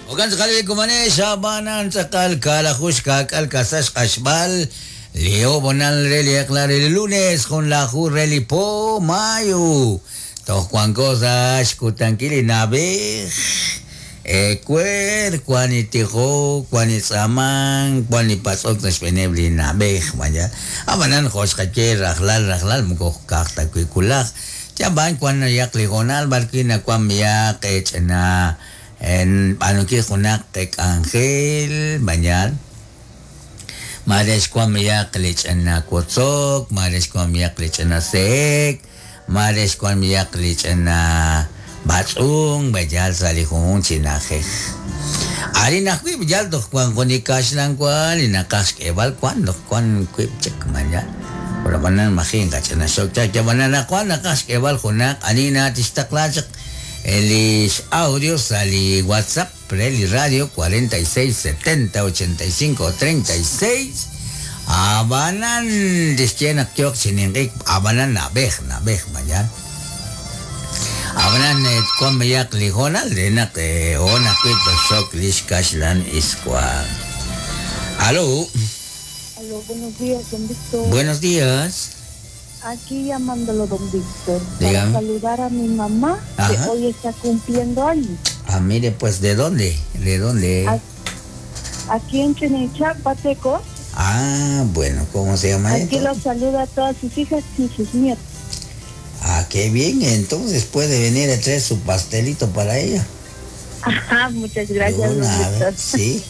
Jo'kan tz'aqal li kumanex ab'anan tz'aqal kaalaju xkaak'al kasa xq'axb'al li ob'onal re li eq'la re li lunes junlaju re li po mayo. Toj wanko sa' xkutankil li na'b'ej. Ewer wan li tijok, wan li tz'aamank, wan li patz'ok sa' xb'eeneb' li na'b'ej. Vaya. Ab'anan jo' xqaye rajlal rajlal moko ka'aj ta wi' wulaj. Yab'an wan nayaq li hoonal b'arwi' nawan b'ihaq ch'ina b'aanunkil junaq k'anjel, vaya. Mare xwan b'ihaq li ch'ina wotzok, mare xwan b'ihaq li ch'ina se'ek, mare xwan b'ihaq li ch'ina b'atz'unk, vaya sa' li junjunq chi na'ajej. Arin ajwi' yal toj wan jun li kaxlan wa li naqaj xk'eeb'al wan toj wan wiib' chik vaya. Pero ab'anan maji' qach'ina xok chaq yab'anan naq wan naqaj xk'eeb'al junaq ani na tixtaqla chaq li audio sa' li WhatsApp re li radio 46 70 85 36 ab'anan tixye naq yooq chi ninq'ik ab'anan na'b'ej na'b'ej vaya. Ab'anan wan b'ayaq li hoonal re naq hoon ajwi' toxok li xkaxlan iswa. Aló. Aló, buenos días, don Víctor. Buenos días. Aquí llamándolo, don Víctor, para Dígame. saludar a mi mamá, que Ajá. hoy está cumpliendo años. Ah, mire, pues, ¿de dónde? ¿De dónde? Aquí en Chenechá, Pateco. Ah, bueno, ¿cómo se llama Aquí entonces? los saluda a todas sus hijas y sus nietos. Ah, qué bien, entonces puede venir a traer su pastelito para ella. Ajá, muchas gracias, De don una vez, Víctor. sí.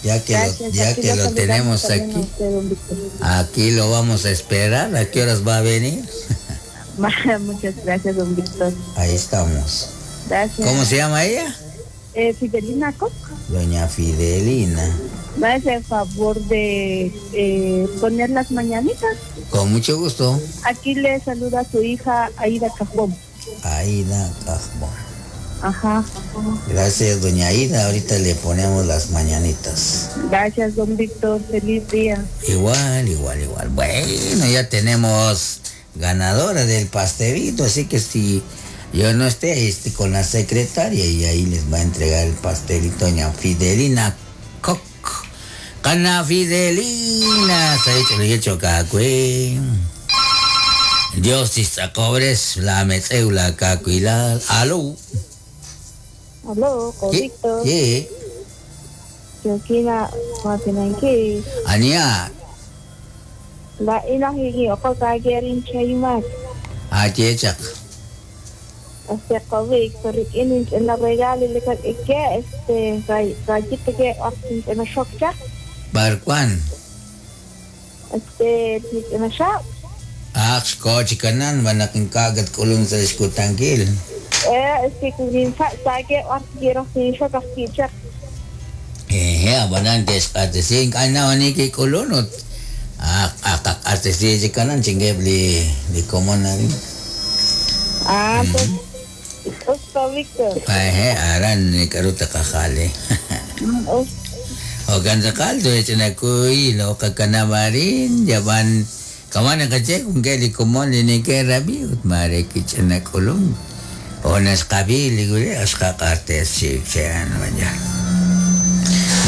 Ya que Gracias, lo, ya aquí que lo lo saludamos tenemos también a aquí. usted, don Víctor. Aquí lo vamos a esperar. ¿A qué horas va a venir? Muchas gracias, don Víctor. Ahí estamos. Gracias. ¿Cómo se llama ella? Fidelina Koch. Doña Fidelina. Va a hacer favor de poner las mañanitas. Con mucho gusto. Aquí le saluda su hija Aida Cajón. Aida Cajón. Ajá. Gracias, doña Aida. Ahorita le ponemos las mañanitas. Gracias, don Víctor. Feliz día. Igual, igual, igual. Bueno, ya tenemos ganadora del pastelito, así que si yo no esté, ahí esté con la secretaria y ahí les va a entregar el pastelito doña Fidelina Koch. Cana Fidelina, se ha hecho el hecho cacue. Dios cobres la metzeula cacuilal. Aló. Aló, con ¿Qué? Víctor. ¿Qué? Yokina Matinanki. Ania, La ina higi okokagerin chayumak. achechak. Este con Víctor inin en la regalo le que este rayito que en la shokcha. Barcuan. Este en la shop. Ah, xkochikanan, manaking kagat kulong sa iskutangkil. Este kunin sa sage quiero sin shok kichak. Abanan kes artesin kana ani ki kulunot. Ah, akak artesin kanan chingeb li li komon na rin. Ah, pues Usto Víctor. Aran ni karuta kakale. O kan sakal to chinakuy lo kakanamarin jaban kamana kache kung keli komon ni ke rabi ut mare ki chinakulung. O nas kabili gule as kakartes si siyan manya.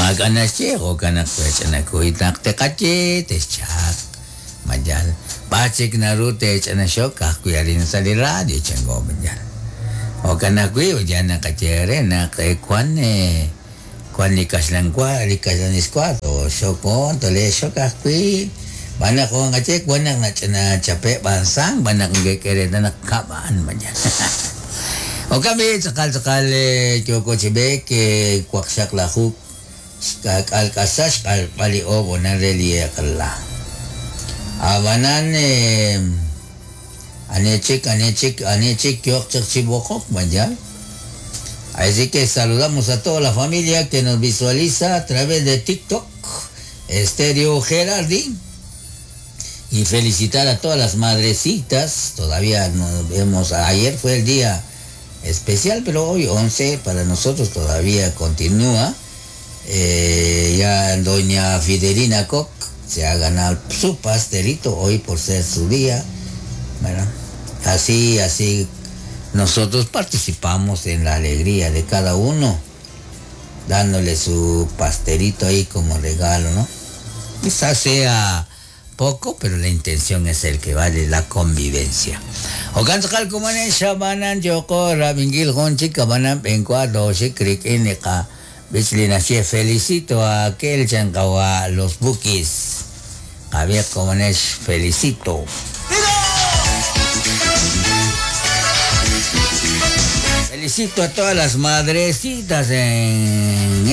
Maganas siya o kanak chinakuy takte kache tes chak majal. Pachik na rute chinashok kakuya rin sa li radio chengo majal. O kanakuy o yan nakachere na kay kwan kwan likas lang kwa likas lang iskwa to shokon to le shok akui banak ko nga che kwan nang na chape bansang banak ng kere na nakabaan man yan. O kami sakal sakal kyoko chibek kwaksak lahuk alkasas kalpali o bonarelie kala. Abanan anechik anechik anechik kyok chibokok man. Así que saludamos a toda la familia que nos visualiza a través de TikTok, Estéreo Gerardi. Y felicitar a todas las madrecitas. Todavía nos vemos. Ayer fue el día especial, pero hoy 11 para nosotros todavía continúa. Ya doña Fidelina Koch se ha ganado su pastelito hoy por ser su día. Bueno, así, así nosotros participamos en la alegría de cada uno. Dándole su pastelito ahí como regalo, ¿no? Quizás sea poco, pero la intención es el que vale la convivencia. Okan tz'aqal komonel xab'anan yoko rab'inkil jun chik ab'anan b'enkwa toxik rik'in li qab'ich li naxye felicito a aquel chan qawa' los Bukis. Qab'iiq komonel felicito. Felicito a todas las madrecitas en